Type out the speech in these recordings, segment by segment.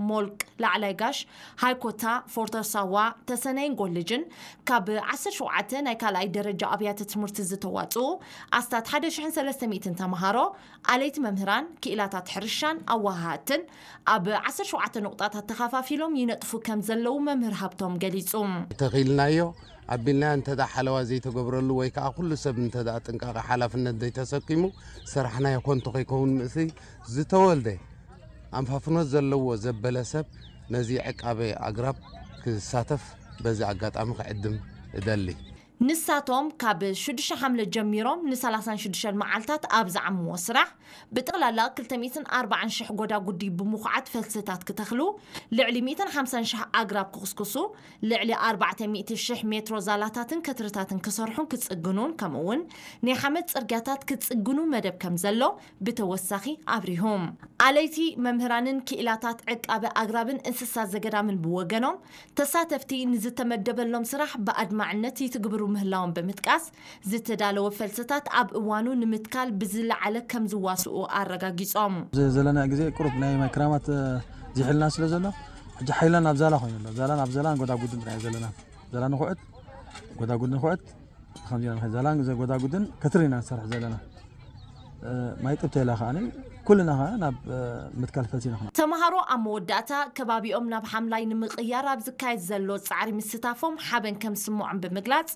ሞልቅ፣ ላዕላይ ጋሽ፣ ሃይኮታ፣ ፎርተሳዋ፣ ተሰነይን ጎልጅን ካብ ዓሰርተ ሸውዓተ ናይ ካልኣይ ደረጃ ኣብያተ ትምህርቲ ዝተዋፅኡ ኣስታት ሓደ ሽሕን ሰለስተ ሚእትን ተምሃሮ፣ ኣለይቲ መምህራን፣ ክኢላታት ሕርሻን ኣወሃሃድትን ኣብ ዓሰርተ ሸውዓተ ንቑጣታት ተኸፋፊሎም ይነጥፉ ከም ዘለዉ መምህር ሃብቶም ገሊጹ። ተኺልናዮ ኣቢልናዮ እንተ ደኣ ሓለዋ ዘይተገብረሉ ወይ ከኣ ኩሉ ሰብ እንተ ደኣ ጥንቃቐ ሓላፍነት ዘይተሰኪሙ፣ ስራሕናዮ ኮንቶ ከይከውን ምእሲ ዝተወልደ ኣንፋፍኖት ዘለዎ ዘበለ ሰብ ነዚ ዕቃበ ኣግራብ ክሳተፍ በዚ ኣጋጣሚ ክዕድም እደሊ። ንሳቶም ካብ ሽዱሽተ ሓምለ ጀሚሮም ንሰላሳን ሽዱሽተን መዓልታት ኣብ ዝዓምዎ ስራሕ ብጠቕላላ ክልተ ሚእትን ኣርባዓን ሽሕ ጎዳጉዲ ብምኹዓት ፈልስታት ክተኽሉ፣ ልዕሊ ሚእትን ሓምሳን ሽሕ ኣግራብ ክኹስኩሱ፣ ልዕሊ ኣርባዕተ ሚእቲ ሽሕ ሜትሮ ዛላታትን ከትርታትን ክሰርሑን ክጽግኑን፣ ከምኡ'ውን ናይ ሓመድ ጽርግያታት ክጽግኑ መደብ ከም ዘሎ ብተወሳኺ ኣብሪሆም። ኣለይቲ መምህራንን ክኢላታት ዕቃበ ኣግራብን እንስሳ ዘገዳምን ብወገኖም፣ ተሳተፍቲ ንዝተመደበሎም ስራሕ ብኣድማዕነት ይትግብሩ ምህላዎም ብምጥቃስ፣ ዝተዳለወ ፈልስታት ኣብ እዋኑ ንምትካል ብዝለዓለ ከም ዝዋስኡ ኣረጋጊጾም። እዚ ዘለና ግዜ ቁሩብ ናይ ማይ ክራማት፣ እ፣ ዝሕልና ስለ ዘሎ፣ ሕጂ ሓይልና ናብ ዛላ ኮይኑ ኣሎ። ዛላን ኣብ ዛላን ጎዳጉድን ጥራይ ዘለና። ዛላ ንኹዕት፣ ጎዳጉድ ንኹዕት፣ ከምዚ ኢና ንኸይድ። ዛላን ዘ-፣ ጎዳጉድን ከትሪ ኢና ንሰርሕ ዘለና። እ፣ ማይ ጥብተ ኢላ ከኣ ኩልና ከኣ ናብ፣ እ፣ ምትካል ፈልሲ ኢና። ተምሃሮ ኣብ መወዳእታ ከባቢኦም ናብ ሓምላይ ንምቕያር ኣብ ዝካየድ ዘሎ ጻዕሪ ምስታፎም ሓበን ከም ዝስምዖም ብምግላጽ፣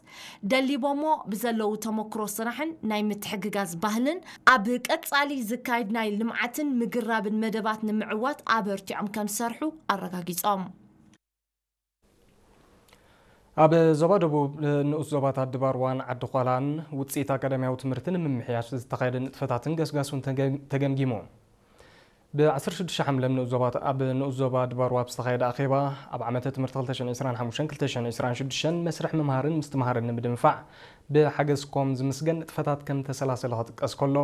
ደሊቦሞ ብዘለዉ ተመክሮ ስራሕን ናይ ምትሕግጋዝ ባህልን ኣብ ቀጻሊ ዝካየድ ናይ ልምዓትን ምግራብን መደባት ንምዕዋት ኣበርቲዖም ከም ዝሰርሑ ኣረጋጊጾም። ኣብ ዞባ ደቡብ ንኡስ ዞባታት ድባርዋን ዓዲ ዃላን ውጽኢት ኣካዳሚያዊ ትምህርቲ ንምምሕያሽ ዝተኻየደ ንጥፈታትን ገስጋሱን ተገ-፣ ተገምጊሙ። ብ ዓሰርተ ሽዱሽተ ሓምለ ኣብ ንኡስ ዞባ፣ ኣብ ንኡስ ዞባ ድባርዋ ኣብ ዝተኻየደ ኣኼባ፣ ኣብ ዓመተ ትምህርቲ ክልተ ሽሕን ዕስራን ሓሙሽተን ክልተ ሽሕን ዕስራን ሽዱሽተን መስርሕ ምምሃርን ምስትምሃርን ንምድንፋዕ ብሓገዝ ኮም ዝምስገን ንጥፈታት ከም ተሰላሰለ ክጥቀስ ከሎ፣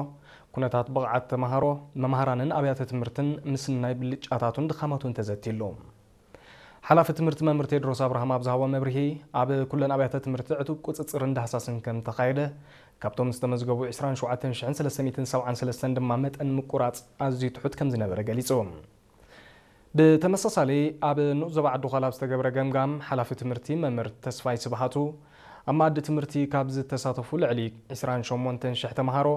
ኩነታት ብቕዓት ተምሃሮ፣ መምሃራንን ኣብያተ ትምህርትን ምስናይ ብልጫታቱን ድኻማቱን ተዘቲሉ። ሓላፊ ትምህርቲ መምህር ቴድሮስ ኣብርሃም ኣብ ዝሃቦ መብርሂ፣ ኣብ ኩለን ኣብያተ ትምህርቲ ዕቱብ ቁጽጽርን ዳህሳስን ከም ተኻየደ፣ ካብቶም ዝተመዝገቡ ዕስራን ሸውዓተን ሽሕን ሰለስተ ሚእትን ሰብዓን ሰለስተን ድማ መጠን ምቁራጽ ኣዝዩ ትሑት ከም ዝነበረ ገሊጹ። ብተመሳሳሊ፣ ኣብ ንኡስ ዞባ ዓዲ ዃላ ኣብ ዝተገብረ ገምጋም፣ ሓላፊ ትምህርቲ መምህር ተስፋይ ስብሃቱ፣ ኣብ መኣዲ ትምህርቲ ካብ ዝተሳተፉ ልዕሊ ዕስራን ሸሞንተን ሽሕ ተምሃሮ፣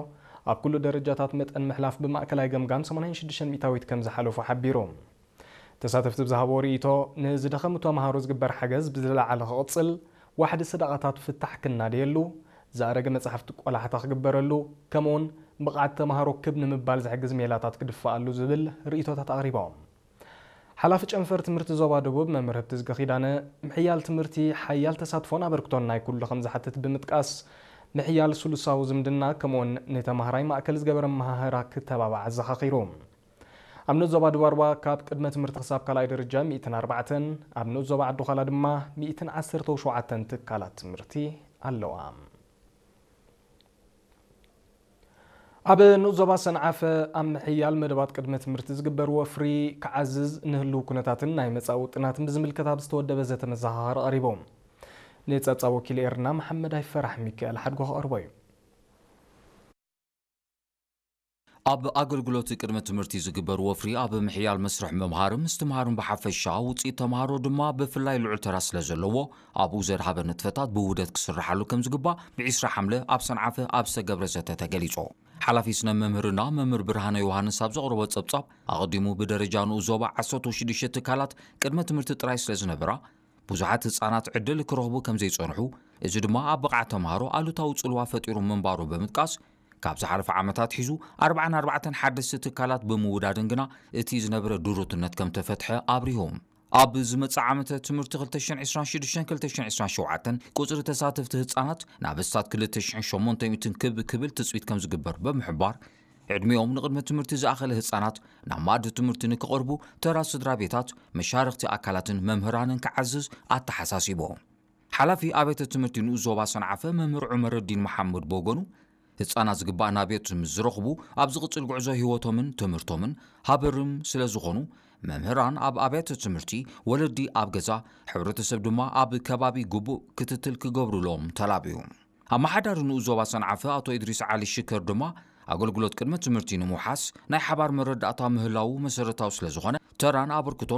ኣብ ኩሉ ደረጃታት መጠን ምሕላፍ ብማእከላይ ገምጋም ሰማንያን ሽዱሽተን ሚእታዊት ከም ዝሓለፉ ሓቢሩ። ተሳተፍቲ ብዝሃብዎ ርእይቶ፣ ንዝደኸሙ ተምሃሮ ዝግበር ሓገዝ ብዝለዓለ ክቕጽል፣ ዋሕዲ ሰደቓታት ፍታሕ ክናደየሉ፣ ዝኣረገ መጻሕፍቲ ቆላሕታ ክግበረሉ፣ ከምኡውን ብቕዓት ተምሃሮ ክብ ንምባል ዝሕግዝ ሜላታት ክድፈኣሉ ዝብል ርእይቶታት ኣቕሪቦም። ሓላፊ ጨንፈር ትምህርቲ ዞባ ደቡብ መምህር ህብትዝጊ ኪዳነ፣ ምሕያል ትምህርቲ ሓያል ተሳትፎን ኣበርክቶን ናይ ኩሉ ከም ዝሓትት ብምጥቃስ፣ ምሕያል ስሉሳዊ ዝምድና ከምኡውን ንተምሃራይ ማእከል ዝገበረ ኣመሃህራ ክተባባዕ ኣዘኻኺሩ። ኣብ ንኡስ ዞባ ድባርዋ ካብ ቅድመ ትምህርቲ ክሳብ ካልኣይ ደረጃ ሚእትን ኣርባዕተን፣ ኣብ ንኡስ ዞባ ዓዲ ዃላ ድማ ሚእትን ዓሰርተው ሸውዓተን ትካላት ትምህርቲ ኣለዋ። ኣብ ንኡስ ዞባ ሰንዓፈ ኣብ ምሕያል መደባት ቅድመ ትምህርቲ ዝግበር ወፍሪ ክዓዝዝ ንህልው ኩነታትን ናይ መጻኢ ውጥናትን ብዝምልከት ኣብ ዝተወደበ ዘተ መዘኻኸሪ ቀሪቡ። ንጸብጻብ ወኪል ኤርና መሓመድ ኣይፈራሕ ሚካኤል ሓድጎ ክቐርቦ እዩ። ኣብ ኣገልግሎት ቅድመ ትምህርቲ ዝግበር ወፍሪ ኣብ ምሕያል መስርሕ ምምሃርን ምስትምሃርን ብሓፈሻ፣ ውፅኢት ተምሃሮ ድማ ብፍላይ ልዑል ተራ ስለ ዘለዎ፣ ኣብኡ ዘድሃበ ንጥፈታት ብውህደት ክስርሓሉ ከም ዝግባእ ብዒስራ ሓምለ ኣብ ሰንዓፈ ኣብ ዝተገብረ ዘተ ተገሊጹ። ሓላፊ ስነ መምህርና መምህር ብርሃነ ዮሃንስ ኣብ ዘቕረቦ ጸብጻብ፣ ኣቐዲሙ ብደረጃ ንኡስ ዞባ ዓሰርተ ሽዱሽተ ትካላት ቅድመ ትምህርቲ ጥራይ ስለ ዝነበራ፣ ብዙሓት ህጻናት ዕድል ክረኽቡ ከም ዘይጸንሑ፣ እዚ ድማ ኣብ ብቕዓት ተምሃሮ ኣሉታዊ ጽልዋ ፈጢሩ ምንባሩ ብምጥቃስ፣ ካብ ዝሓለፈ ዓመታት ሒዙ ኣርባዓን ኣርባዕተን ሓደስቲ ትካላት ብምውዳድን ግና እቲ ዝነበረ ድሩትነት ከም ተፈትሐ ኣብሪሁ። ኣብ ዝመጽእ ዓመተ ትምህርቲ ክልተ ሽሕን ዕስራን ሽዱሽተን ክልተ ሽሕን ዕስራን ሸውዓተን ቁጽሪ ተሳተፍቲ ህጻናት ናብ ኣስታት ክልተ ሽሕን ሸሞንተ ሚእትን ክብ ክብል ትጽቢት ከም ዝግበር ብምሕባር፣ ዕድሚኦም ንቕድመ ትምህርቲ ዝኣኸለ ህጻናት ናብ መኣዲ ትምህርቲ ንክቐርቡ ተራ ስድራ ቤታት፣ መሻርኽቲ ኣካላትን መምህራንን ክዓዝዝ ኣተሓሳሲቡ። ሓላፊ ኣብያተ ትምህርቲ ንኡስ ዞባ ሰንዓፈ መምህር ዑመረዲን መሓመድ ብወገኑ፣ ህጻናት ዝግባእ ናብየት ምስ ዝረኽቡ፣ ኣብ ዝቕጽል ጉዕዞ ህይወቶምን ትምህርቶምን ሃበርም ስለ ዝኾኑ፣ መምህራን ኣብ ኣብያተ ትምህርቲ፣ ወለዲ ኣብ ገዛ፣ ሕብረተሰብ ድማ ኣብ ከባቢ ግቡእ ክትትል ክገብሩሎም ተላብዩ። ኣመሓዳሪ ንኡስ ዞባ ሰንዓፈ ኣቶ ኢድሪስ ዓሊ ሽከር ድማ፣ ኣገልግሎት ቅድመ ትምህርቲ ንምውሓስ ናይ ሓባር መረዳእታ ምህላዉ መሰረታዊ ስለ ዝኾነ፣ ተራን ኣበርክቶን